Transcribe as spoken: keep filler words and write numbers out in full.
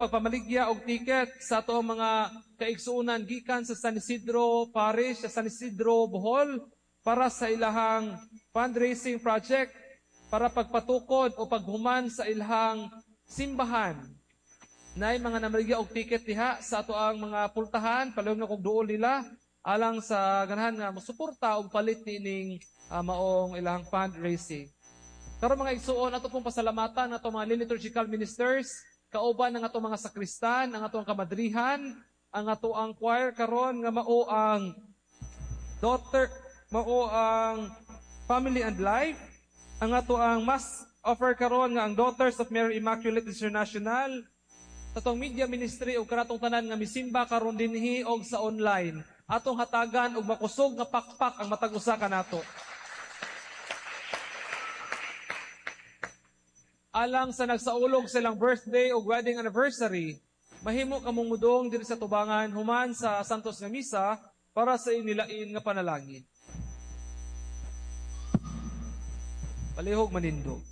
Pagpamaligya og ticket sa ato ang mga kaigsuonan gikan sa San Isidro Parish, sa San Isidro, Bohol, para sa ilahang fundraising project para pagpatukod o paghuman sa ilahang simbahan. Nay mga namaligya og ticket diha sa ato ang mga pultahan, palihog na kog duol nila alang sa ganahan nga mosuporta og palit niining uh, maong ilahang fundraising. Karon, mga igsuon, ato pong pasalamatan ato mga liturgical ministers, kauban ang ato mga sakristan, ang atong kamadrihan, ang ato ang choir karon nga mao ang daughter, mao ang Family and Life, ang ato ang mass offer karon nga ang Daughters of Mary Immaculate International, sa atong media ministry ug kanatong tanan nga misimba karon dinhi og sa online. Atong hatagan og makusog nga pakpak ang matag usa kanato. Alang sa nagsaulog silang birthday o wedding anniversary, mahimo kamong mudong diri sa tubangan human sa Santos nga Misa para sa inilain nga panalangin. Palihog manindog.